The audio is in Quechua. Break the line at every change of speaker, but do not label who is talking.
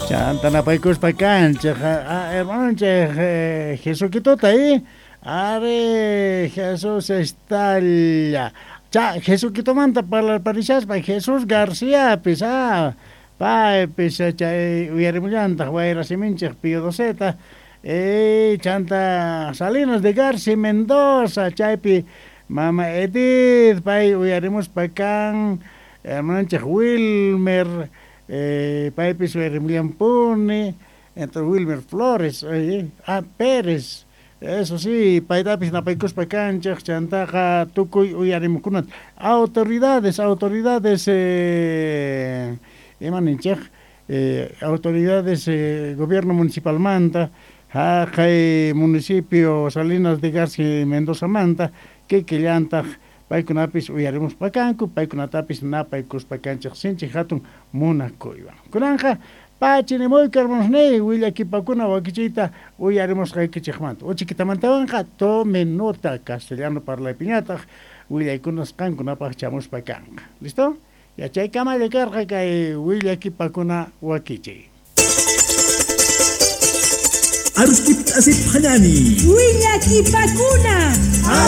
Chanta napaykuspa kanchik hermanonchik Jesuquitota ari Jesús estalla cha Jesuquitomanta parlarparishaspa Jesús Garciapis paypis chay uyarimullantaq wayrasiminchik Pío Doceta chanta Salinas de Garci Mendoza chaypi mama Edith pay uyarimuspa kan hermanonchik Wilmer paypis uyarimullampuni entonces Wilmer Flores Pérez eso sí paytapis napaykuspa kanchik chantaqa tukuy uyarimukunata autoridades autoridades ima ninchik autoridades gobierno municipalmanta haqay municipio Salinas de Garci Mendozamanta kikillantaq paykunapis uyarimuspa kanku paykunatapis napaykuspa kanchik sinchi hatun munakuywan kunanqa pachinimuyku hermanosniy willakipakuna wakichiyta uyarimusqaykichikmanta uchikitamantawanqa tome nota castellano parlaypiñataq willaykunas qankunapaq chamuspa kanqa listo yachaykamalla karqa kay willakipakuna wakichiy.
Arustip asip hanani.
Willakipakuna.